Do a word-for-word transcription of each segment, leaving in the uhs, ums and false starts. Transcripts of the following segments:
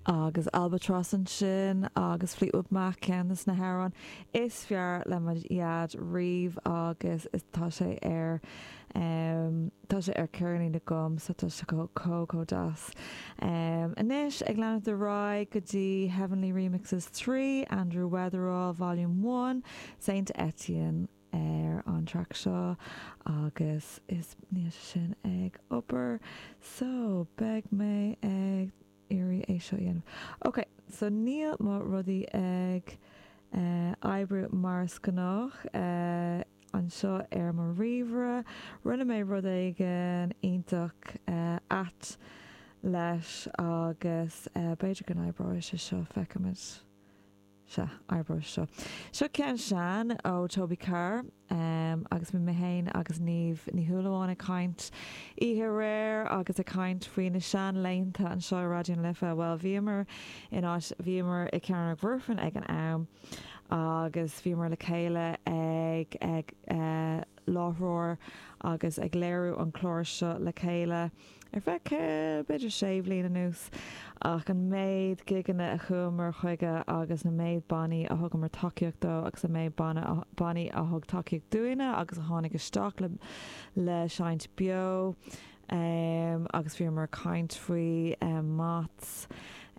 Agus Albatross ansin agus Fleetwood Mac ceann de na hamhráin is fearr le mo dhaid riamh agus tá sé ar um, tá sé ar ceirnín agam so tá sé chomh chomh deas. Um, anois ag leanúint ar aghaidh go dtí Heavenly Remixes trí Andrew Weatherall Volume one, Saint Etienne ar an track seo agus is níl sin ag obair so beidh mé ag iarraidh é seo dhéanamh. Ok, so níl mo rudaí ag uh, oibriú mar is gnách uh, anseo ar mo ríomhaire, rinne mé rud éigin iontach uh, ait leis agus uh, b'fhéidir go n-oibreoidh sé seo feicfimid. Se oibreoidh seo. Seo ceann sean ó Toby Carr um, agus mé féin agus Niamh Ní Shúilleabháin ag caint oíche aréir agus ag caint faoi na seanlaethanta anseo Raidió na Life. Well bhíomar in áit bhíomar i Cearnóg Mhuirfean ag an am agus bhíomar le chéile ag ag uh, láithreoir agus ag léiriú an chlár seo le chéile. Ar feadh b'fhéidir sé bliana anuas ach an méid gigeanna a chuamar chuige agus na méid bannaí a thugamar tacaíocht dó agus a méid bannaí a thug tacaíocht dúinne agus a tháinig isteach le le seinnt beo um, agus bhíomar caint faoi um, Mats,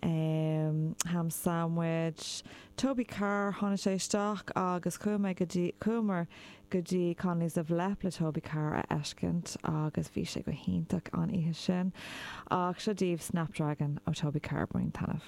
um, Ham Sandwich, Toby Carr tháinig sé isteach agus chuaigh go dtí chuamar go dtí Connolly's of Leap le Toby Carr a fheiscint agus bhí sé go hiontach an oíche sin ach seo daoibh Snapdragon ó Toby Carr bain taitneamh.